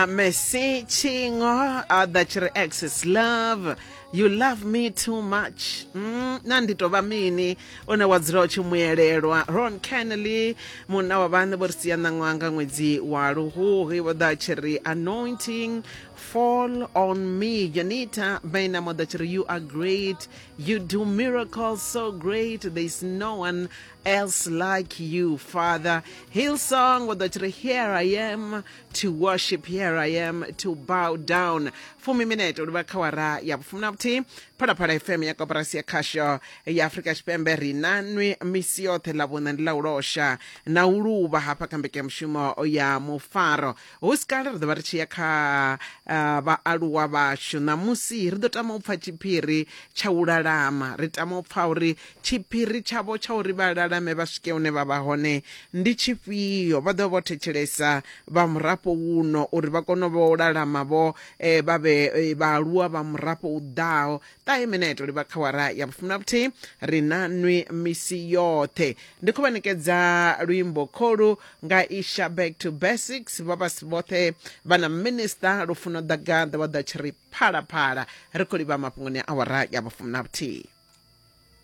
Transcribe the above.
Na Messi Tshingo a ḓa tshi ri Access Love You love me too much. Na ndi tou vha mini une wa dzula u tshi muelelwa. Ron Kennelly munna wa vhaṋe vho ri sia ṋaṅwaha nga ṅwedzi wa Luhuhi vho ḓa tshi ri Anointing Fall on me. Janita Bena mo ḓa tshi ri You are great, you do miracles so great, there is no one else like you, Father. Hillsong vho ḓa tshi ri Here I am to worship, here I am to bow down. Fumi minete u livha kha wara ya vhufumi na vhuthihi. Phalaphala FM ya koporasi ya khasho ya Afrika Tshipembe ri na nwi misi yoṱhe. Ḽa vhuṋa ndi ḽa u losha na u luvha hafha kha mbekanyamushumo ya mufaro. Hu si kale ri ḓo vha ri tshi ya kha vhaaluwa vhashu. Ṋamusi ri ḓo tama u pfa tshiphiri tsha u lalama. Ri tama u pfa uri tshiphiri tshavho tsha uri vha lalame vha swike hune vha vha hone ndi tshifhio. Vha ḓo vha vho thetshelesa vha murafho wuno uri vha kone u vha u lalama vho vha vhe vhaaluwa vha murafho u ḓaho. Ṱahe minete u livha kha wara ya vhufumi na vhuthihi. Ri na nwi misi yoṱhe. Ndi khou vha ṋekedza luimbo kholu nga Isha Back to Basics. Vha vha si vhoṱhe vha na Minister Lufuno Ḓagaḓa vha ḓa tshi ri phalaphala. Ri khou livha mafhungoni a awara ya vhufumi na vhuthihi.